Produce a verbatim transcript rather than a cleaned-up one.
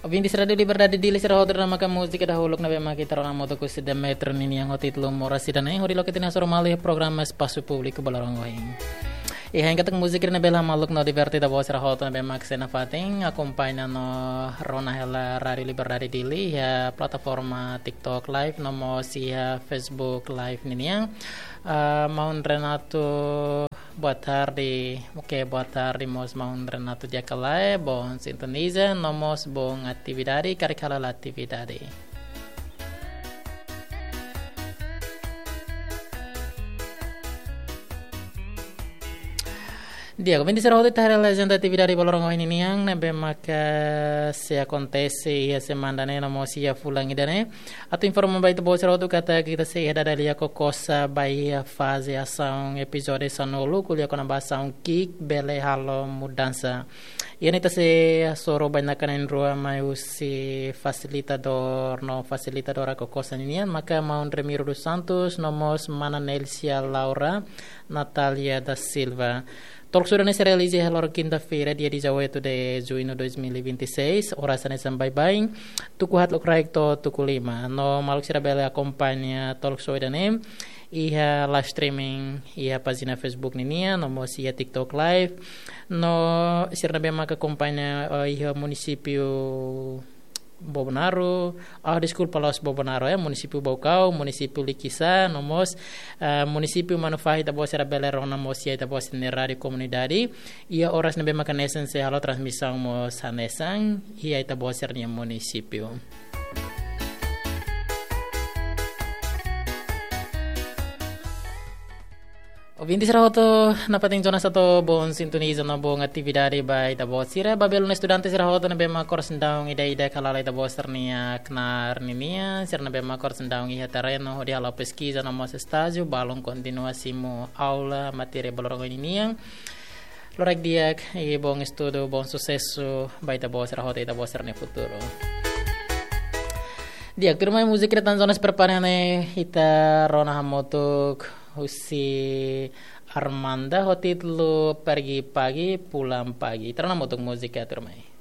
Ouvinte Rádiu Liberdade Dili sira hotu, ida-ne'e maka múzika dahuluk ne'ebé mak ita rona hamutuk husi Demetrio ninian ho títulu Moras ida-ne'e, hodi loke ita-nia hasoru malu iha programa Espasu Públiku Balorong ohin. Iha, hanesan katak múzika ne'e bele hamaluk no diverte ita-boot sira hotu ne'ebé mak sei nafatin akompaña no rona hela Rádiu Liberdade Dili iha plataforma TikTok Live no mós iha Facebook Live ninian. Ah, maun Renato, boa tarde. Oke, boa tarde mós maun Renato Diakalae, bom sintoniza, no mós bom atividade, karik hala'o atividade. Di'ak, ouvinte sira hotu, ita haree agenda atividade Balorong ohin ninian ne'ebé maka sei akontese iha semana ne'e no mós iha fulan ida-ne'e. Atu informa ba ita-boot sira hotu katak ita sei iha dada lia Kokosa ba iha faze asaun epizódiu sanulu, ko'alia kona-ba asaun ki'ik bele halo mudansa. Iha ne'e ita sei hasoru bainaka na'in-rua mai husi fasilitadór no fasilitadora Kokosa ninian, maka maun Remiro dos Santos no mós mana Nelsia Laura Natalia da Silva. Talk show ida-ne'e sei realiza iha loron kinta-feira, dia dezoito de junho de dois mil e vinte e seis, oras hanesan baibain, tuku haat loraik to'o tuku lima. No maluk sira bele akompaña talk show ida-ne'e iha live streaming iha pájina Facebook ninian, no mós iha TikTok Live. No sira ne'ebé maka akompaña, eh, iha munisípiu Bobonaro, ah, deskulpa, la'ós Bobonaro, eh, munisípiu Baucau, munisípiu Likisá, no mós, eh, munisípiu Manufahi, ita-boot sira bele rona mós iha ita-boot sira-nia rádiu komunidade. Iha oras ne'ebé maka hanesan sei halo transmisaun mós hanesan iha ita-boot sira-nia munisípiu. Ouvinte sira hotu, nafatin jonas atu bom sintoniza no bom atividade ba ita-boot sira. Ba belun estudante sira hotu ne'ebé mak oras daudaun ida-idak hala'o ita-boot sira-nia knaar ninian, sira ne'ebé mak oras daudaun iha terrenu hodi halo peskiza no mós estájiu, balun kontinua simu aula matéria Balorong ohin ninian. Loraik di'ak, i bom estudu, bom susesu ba ita-boot sira hotu, ita-boot sira-nia futuru. Di'ak, tuirmai múzika ida tan jonas prepara ne'e ita rona hamutuk husi Armanda ho títulu Pergi Pagi Pulang Pagi. Ita rona hamutuk múzika, tuirmai.